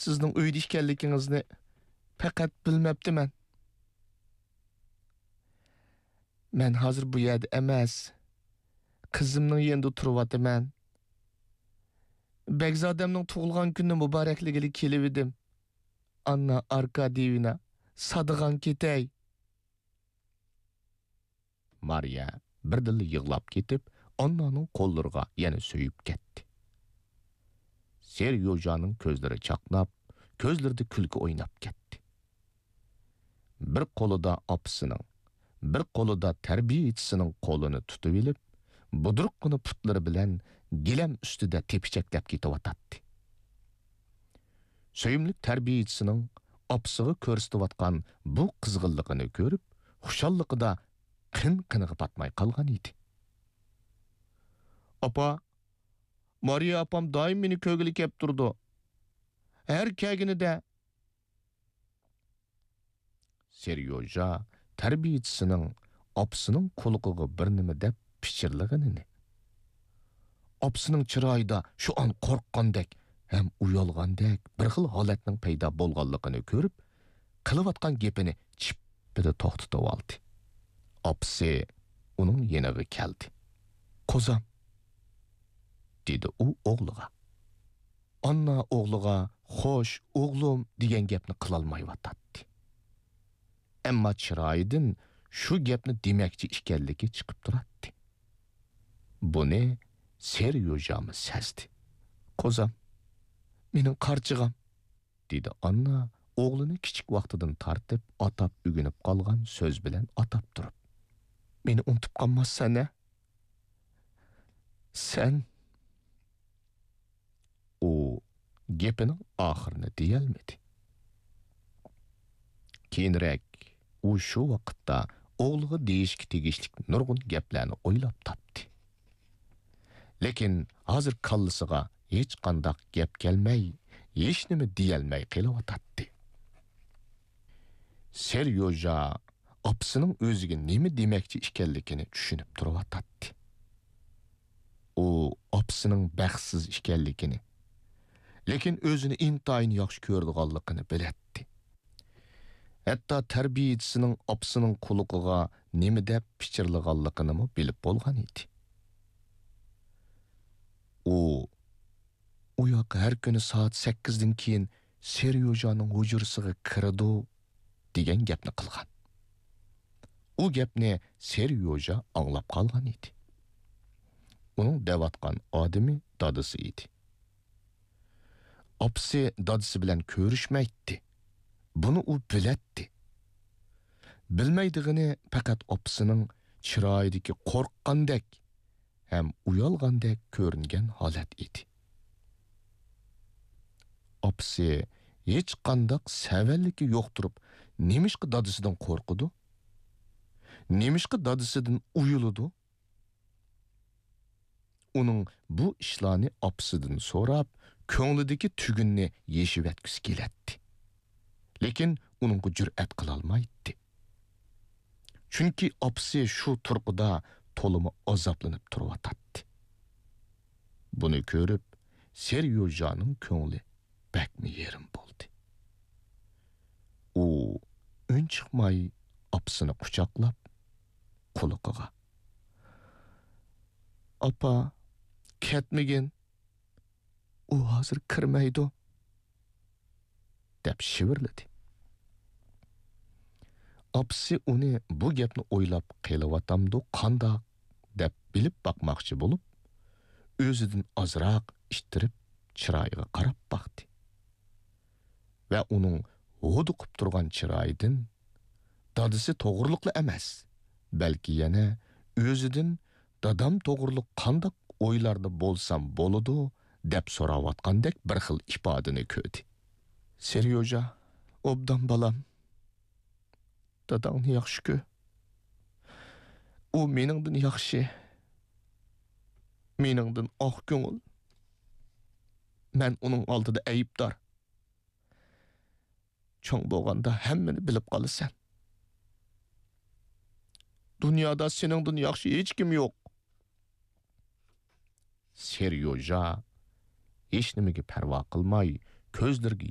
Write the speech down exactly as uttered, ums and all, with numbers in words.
سىزنىڭ ئۆيدە ئىكەنلىكىڭىزنى پەقەت بىلمەپتىمەن. مەن ھازىر بۇ يەردە ئەمەس، قىزىمنىڭ يېنىدا تۇرۇۋاتىمەن. بەگزادەمنىڭ تۇغۇلغان كۈنىنى مۇبارەكلىگىلى كېلىۋىدىم. ئاننا ئاركادىيېۋنا، سادىغان كېتەي. مارىيە بىردىنلا يىغلاپ كېتىپ، ئاننانىڭ قوللىرىغا يەنە سۆيۈپ كەتتى. سېريوژانىڭ كۆزلىرى چاقناپ، كۆزلىرىدە كۈلكە ئويناپ كەتتى. بىر قولىدا ئاپىسىنىڭ، بىر قولىدا تەربىيىچىسىنىڭ قولىنى تۇتۇۋېلىپ، بۇدرۇققىنا پۇتلىرى بىلەن گىلەم ئۈستىدە تېپىچەكلەپ كېتىۋاتاتتى. سۆيۈملۈك تەربىيىچىسىنىڭ ئاپىسىغا كۆرسىتىۋاتقان بۇ قىزغىنلىقىنى كۆرۈپ، خۇشاللىقىدا قىن-قىنىغا پاتماي قالغان ئىدى. «ئاپا، مارىيە ئاپام دائىم مېنى كۆرگىلى كەپ تۇرىدۇ. ھەر كەلگىنىدە.» سېريوژا تەربىيىچىسىنىڭ ئاپىسىنىڭ قۇلىقىغا بىر نېمە دەپ پىچىرلىغىنىنى، ئاپىسىنىڭ چىرايىدا شۇ ئان قورققاندەك ھەم ئۇيالغاندەك بىر خىل ھالەتنىڭ پەيدا بولغانلىقىنى كۆرۈپ، قىلىۋاتقان گېپىنى چىپپىدە توختىتىۋالدى. ئاپىسى ئۇنىڭ يېنىغا كەلدى. «قوزام»، دېدى ئۇ ئوغلىغا. ئاننا ئوغلىغا «خوش، ئوغلۇم» دېگەن گەپنى قىلالمايۋاتاتتى. ئەمما چىرايىدىن شۇ گەپنى دېمەكچى ئىكەنلىكى چىقىپ تۇراتتى. بۇنى سېريوژامۇ سەزدى. «قوزام، مېنىڭ قارچىغام»، دېدى ئاننا ئوغلىنى كىچىك ۋاقتىدىن تارتىپ ئاتاپ ئۆگىنىپ قالغان سۆز بىلەن ئاتاپ تۇرۇپ. «مېنى ئۇنتۇپ قالماسسەن ھە؟ سەن.» ئۇ گېپىنىڭ ئاخىرىنى دېيەلمىدى. كېيىنرەك ئۇ شۇ ۋاقىتتا ئوغلىغا دېيىشكە تېگىشلىك نۇرغۇن گەپلەرنى ئويلاپ تاپتى. لېكىن ھازىر كاللىسىغا ھېچقانداق گەپ كەلمەي، ھېچنېمە دېيەلمەي قېلىۋاتاتتى. سېريوژا ئاپىسىنىڭ ئۆزىگە نېمە دېمەكچى ئىكەنلىكىنى چۈشىنىپ تۇرۇۋاتاتتى. ئۇ ئاپىسىنىڭ بەختسىز ئىكەنلىكىنى، لېكىن ئۆزىنى ئىنتايىن ياخشى كۆرىدىغانلىقىنى بىلەتتى. ھەتتا تەربىيىچىسىنىڭ ئاپىسىنىڭ قۇلىقىغا نېمە دەپ پىچىرلىغانلىقىنىمۇ بىلىپ بولغان ئىدى. ئۇ، «ئۇ ياق ھەر كۈنى سائەت سەككىزدىن كېيىن سېريوژانىڭ ھۇجرىسىغا كىرىدۇ» دېگەن گەپنى قىلغان. ئۇ گەپنى سېريوژا ئاڭلاپ قالغان ئىدى. ئۇنىڭ دەۋاتقان ئادىمى دادىسى ئىدى. ئاپىسى دادىسى بىلەن كۆرۈشمەيتتى. بۇنى ئۇ بىلەتتى. بىلمەيدىغىنى پەقەت ئاپىسىنىڭ چىرايىدىكى قورققاندەك ھەم ئۇيالغاندەك كۆرۈنگەن ھالەت ئىدى. ئاپىسى ھېچقانداق سەۋەنلىكى يوق تۇرۇپ، نېمىشقا دادىسىدىن قورقىدۇ؟ نېمىشقا دادىسىدىن ئۇيىلىدۇ؟ ئۇنىڭ بۇ ئىشلارنى ئاپىسىدىن سوراپ، كۆڭلىدىكى تۈگۈننى يېشىۋەتكۈسى كېلەتتى. لېكىن ئۇنىڭغا جۈرئەت قىلالمايتتى. چۈنكى ئاپىسى شۇ تۇرقىدا تولىمۇ ئازابلىنىپ تۇرۇۋاتاتتى. بۇنى كۆرۈپ، سېريوژانىڭ كۆڭلى بەكمۇ يېرىم بولدى. ئۇ ئۈن چىقماي ئاپىسىنى قۇچاقلاپ، قۇلىقىغا، «ئاپا، كەتمىگىن، ئۇ ھازىر كىرمەيدۇ» دەپ شىۋىرلىدى. ئاپىسى ئۇنى بۇ گەپنى ئويلاپ قېلىۋاتامدۇ قانداق دەپ بىلىپ باقماقچى بولۇپ، ئۆزىدىن ئازراق ئىتتىرىپ چىرايىغا قاراپ باقتى. ۋە ئۇنىڭ ھودۇقۇپ تۇرغان چىرايىدىن دادىسى توغرۇلۇقلا ئەمەس، بەلكى يەنە ئۆزىدىن دادام توغرۇلۇق قانداق ئويلاردا بولسام بولىدۇ دەپ سوراۋاتقاندەك بىر خىل ئىپادىنى كۆردى. سېريوژا، ئوبدان بالام، داداڭنى ياخشى كۆر. ئۇ مېنىڭدىن ياخشى، مېنىڭدىن ئاق كۆڭۈل. مەن ئۇنىڭ ئالدىدا ئەيىبدار. چوڭ بولغاندا ھەممىنى بىلىپ قالىسەن. دۇنيادا سېنىڭدىن ياخشى ھېچكىم يوق. سېريوژا ھېچنېمىگە پەرۋا قىلماي، كۆزلىرىگە